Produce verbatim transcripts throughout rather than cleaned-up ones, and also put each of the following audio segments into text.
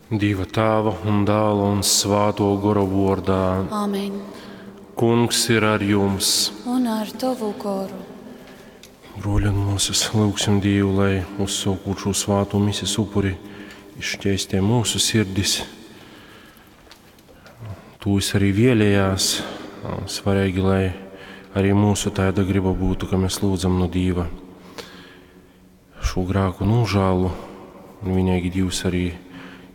Dieva Tēva un Dēla un Svāto Gora vārdā. Āmen. Kungs ir ar jums. Un ar tavu goru. Broļi un māsas, lūgsim Dievu, lai uzsākot šo svāto mises upuri, izšķēstē mūsu sirdis. Tūs arī vēlējās. Svarīgi, lai arī mūsu tāda griba būtu, ka mēs lūdzam no Dieva šo grēku nožēlu. Un vienīgi Dievs arī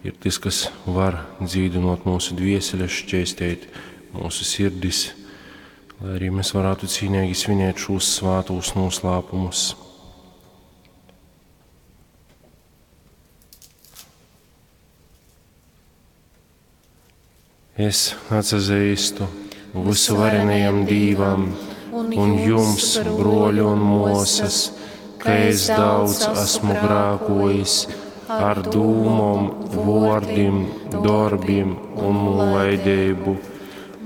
ir tas, kas var dzīdinot mūsu dvieseles, šķēstēt mūsu sirdis, lai arī mēs varētu cīnīgi svinēt šos svātos noslēpumus. Es atsazīstu visuvarenajam Dīvam un jums, broļi un mosas, ka es daudz esmu grēkojis ar dūmom, vōrdim, dorbim un nolaidību.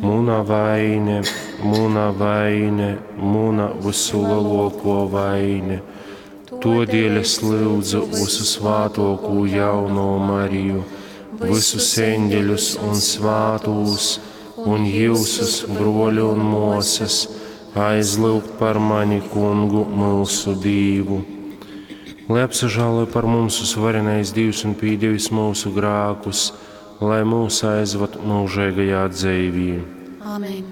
Muna vaine, muna vaine, muna visulielāko vaine. Todēļ es lūdzu visu svātoko jauno Mariju, visus eņģeļus un svātūs, un jūsus, broļi un mosas, aizlūgt par mani kungu mūsu Dīvu. Lai apsažāloja par mums uzvarenais Dievs un pīdevis mūsu grākus, lai mūs aizvad mūžīgajā dzīvī. Āmen.